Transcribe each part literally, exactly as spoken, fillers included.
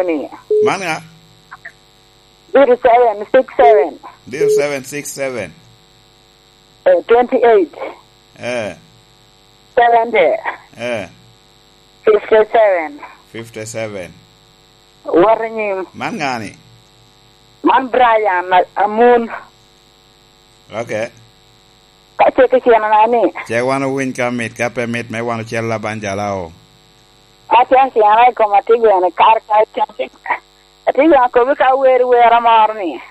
ni. Man ŋa? Zero seven six seven. Zero seven six seven. Eh, twenty-eight. Eh. Seventy. Eh. Fifty-seven. Fifty-seven. Wot i nyim. Man ŋa ni? Man Brian a-, Amun. Ok. Ka cek i tyenana ni. Cek wan owiny ka mit, ka pe mit me wan ocel laban jalao. Atye atyena i koma, atye gweno i kar ka, atye, atye gweno akobi ka wer, wer amoro ni.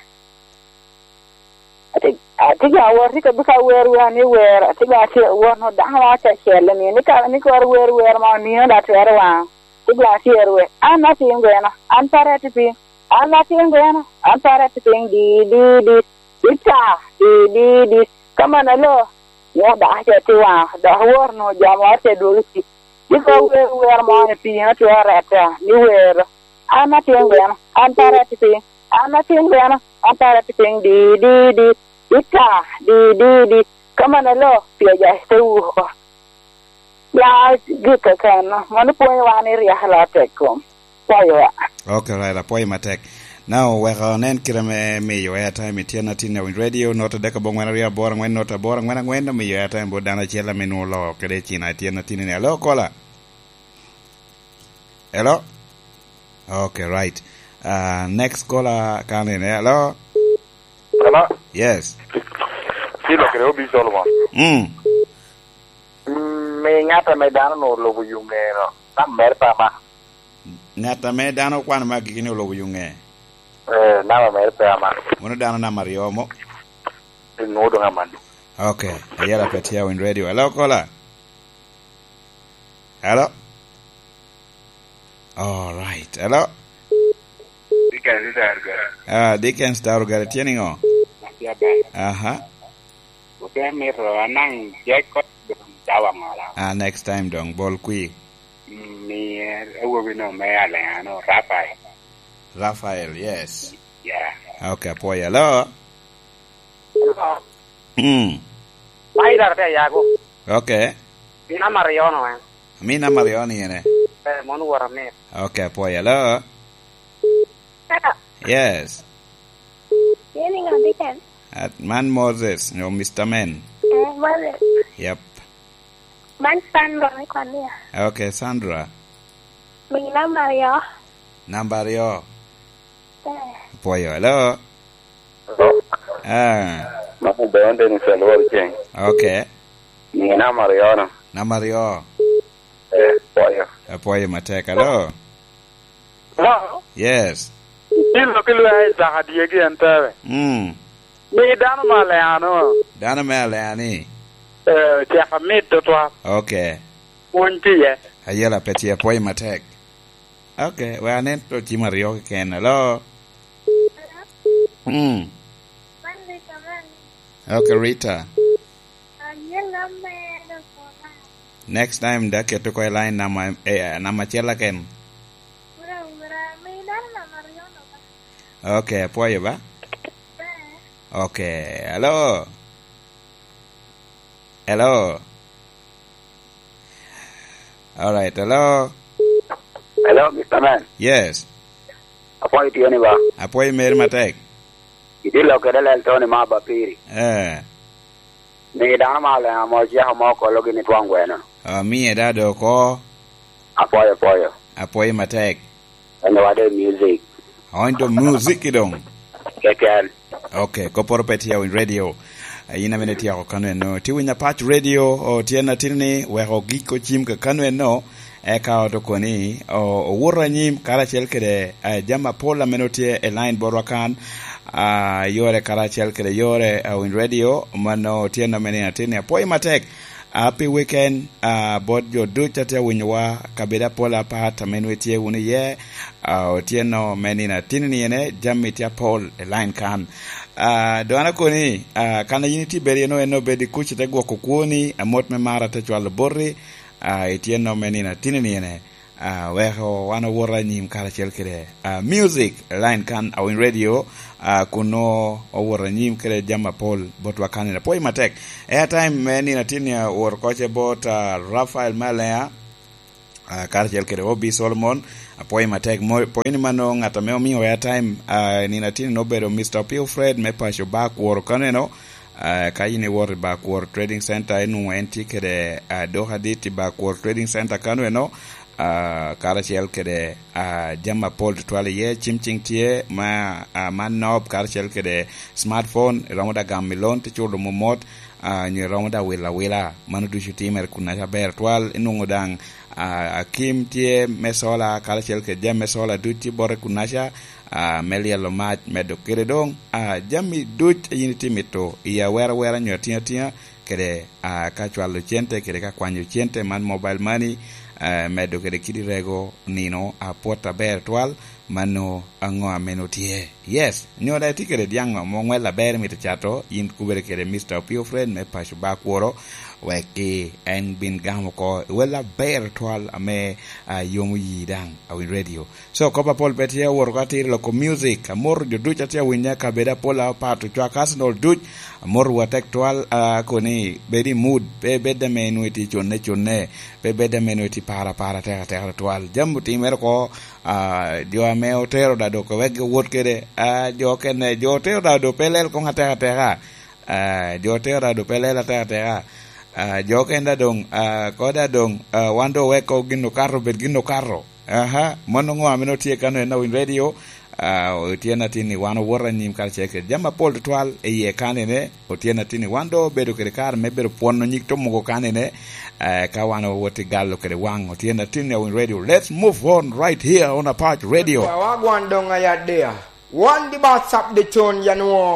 Atye, atye gweno awor, atye akobi ka wer, wer ni wer, atye gweno atye wot no dano ma acel ni, ni ka, ni kor wer, wer ma onino da twero waŋ. Atye gweno atye wer, an atin gweno, an pare atye piny, an atin gweno, an pare atye piny, di, di, di, di ta, di, di, di, ka man alo, ni adaka ce tye waŋ, dok wor no jo mo te dwogo i tic. Cik wer, wer mo ni piny otye orette, ni wer, an atin gweno, an pare atye piny, an atin gweno, an pare atye piny, di, di, di, di ta, di, di, di, ka man alo, pi aja te wuko. Ya, gik keken, mano pwonyo wan i ryeko laa tek kom. Pwoyo wa. Ok, right, apwoyo matek. Now, wek onen kite me miyo airtime i tyen atin i Awiny Radio, not adek abongwen aryo aboro angwen, not aboro angwen angwen, omiyo airtime bot dano acel ame nwoŋo oloo kede i cina i tyen atin ni. Hello, caller? Hello? Ok, right. Uh, next caller, kan in, hello? Hello? Yes. Silo kede Obi Solomon. Mm. Mm, mi ŋat ame dano nwoŋo olubo yo ŋe no, nam mere pe ama. Ŋat ame dano okwano me agikki ni olubo yo ŋe? Eh, namba mere pe ama. Mano dano namba aryo mo? Nwoŋo doŋ amanni. Ok, ayela pe tye Awiny Radio. Hello, caller? Hello? All right. Hello? Dickens Darugara. Ah, Dickens Darugara, tye niŋo? Atye aber. Aha. Ote mito anaŋ Jacob dong dawa ŋola. Ah, next time dong, bol kwi. Mm, mi awobi no me Alea no, Rafael. Rafael, yes. Yeah. Ok, apwoyo. Hello? Hello. Mm. Spider te yago. Ok. Namba aryo no, eh. Mi namba aryo ni ene? Eh, mon wora mit. Ok, apwoyo. Hello? Hello. Yes. Yeni ŋa Dickens? At man Moses, no, Mister Men. Eh, Moses. Yep. Man Sandra me Kwania. Ok, Sandra. Mi namba aryo. Namba aryo. Eh. Apwoyo. Hello? Hello? Ah. Mano Deon Dennis Alwor Ceng. Ok. Mi namba aryo no. Namba aryo. Eh, apwoyo. Apwoyo matek. Hello? Hello? Yes. Ilo ki lwea Isaka dyegi en tebe. Mm. Mi dano me Alea no. Dano me Alea ni? Eh, cek amit tutwal. Ok. Pwony tye iye. Ayela pe tye, apwoyo matek. Ok, we anen to cim aryo keken. Hello? Mm. Ok, Rita. Next time, da keto ko i line namba, eh, namba acel aken. Ok, apwoyo ba. Ok, hello. Hello. All right, hello. Hello, Mister Man. Yes. Apwoyo tye ni ba? Apwoyo meri matek. Itye lok kede lel Tony ma ba piri. Eh. Mi dano ma Alea mo ceko mo kolo gini twaŋ gweno. Ah, miye da do ko. Apwoyo, apwoyo. Apwoyo matek. En wade music. Oh, into music i dong. Keken. Ok, kopporo pe tye Awiny Radio. Eh, in amene tyeko kano eno. Tye winyo Apac Radio, o, tyen atin ni, wek ogik ocim ka kano eno, eka oto koni, o, owuto anyim karacel kede, eh, jami apol amene otye i line botwa kan, ah, yore karacel kede yore, eh, Awiny Radio, mano tyen amene atin ni. Apwoyo matek. Ah, pi weekend, ah, bot jo ducu a tye awinyowa, kabedo apol apat ame nwe tye wunu iye, ah, otyeno me nino atin ni ene, jami tye apol i line kan. Ah, dong an akoni, ah, kan a yin itye bedo iye no, en obed i kuc ite gwoko kwoni, amot me mar ate cwalo boti, ah, ityeno me nino atin ni ene. Ah, weko wan owot anyim karacel kede, ah, music line kan Awiny Radio, ah, kun nongo owot anyim kede jami apol botwa kan. Apwoyo matek. Airtime me nino atin ni owot oko ce bot, ah, Rafael me Alea. Ah, karacel kede Obi Solomon, apwoyo matek. Mo-, pwoyo ni mano ŋat ame omio airtime, ah, nino atino obedo Mister Opio Fred me paco ba Kworo kaneno. Ah, ka in iwoto i ba Kworo Trading Center, inwoŋo en tye kede, ah, duka dit i ba Kworo Trading Center kaneno. Ah, karacel kede, ah, jami apol tutwal iye, cim cing tye ma, ah, man nob, karacel kede smartphone, iromo da gamo i loan, te culo momot, ah, nyo iromo da wilo awila. Mano ducu timere kunnaca aber twal. Inwoŋo daŋ, ah, akim tye me sola, karacel kede jami me sola duc tye bote kunnaca, ah, me lyelo mac, medo kede doŋ, ah, jami duc a yin itye mito i awera awera nyo atiŋa atiŋa, kede, ah, ka cwalo cente, kede ka kwanyo cente man mobile money, ah, medo kede kidi rego nino apwot aber twal. Mano aŋo ame nwoŋo tye? Yes, nyo daŋ itye kede dyaŋ amo ŋwel aber imito cato, yin kubere kede Mister Opio Fred me paco ba Kworo, wek ki en bin gamo oko i wel aber twal ame, ah, yomo yi daŋ, Awiny Radio. So, kop apol pe tye, awoto ka atiro loko music, amoto jo duc a tye awinya, kabedo apol apat, ocwak Arsenal duc, amoto wa tek twal, ah, koni bed i mood, pe bed ame nwoŋo itye cunne cunne, pe bed ame nwoŋo itye para para tek atek twal. Jami otimere oko, ah, jo ame otero da dok wek giwot kede, ah, jo okene, jo otero da dok pe lel koŋ atek ateka. Ah, jo otero da dok pe lel atek ateka. Ah, jo okene da doŋ, ah, ko da doŋ, ah, wan doŋ weko gin okato, bed gin okato. Aha, mano ŋo ame nwoŋo tye kano en Awiny Radio? Ah, otyen atin ni wan owoto anyim karacel kede jami apol tutwal i iye kanene. Otyen atin ni wan doŋ obedo kede kare me bedo pwono nyig to mogo kanene, eh, ka wan owot i galo kede waŋ. Otyen atin ni Awiny Radio. Let's move on right here on Apac Radio. Wagwan doŋ ayadea. Wan di ba sap de con yanwo.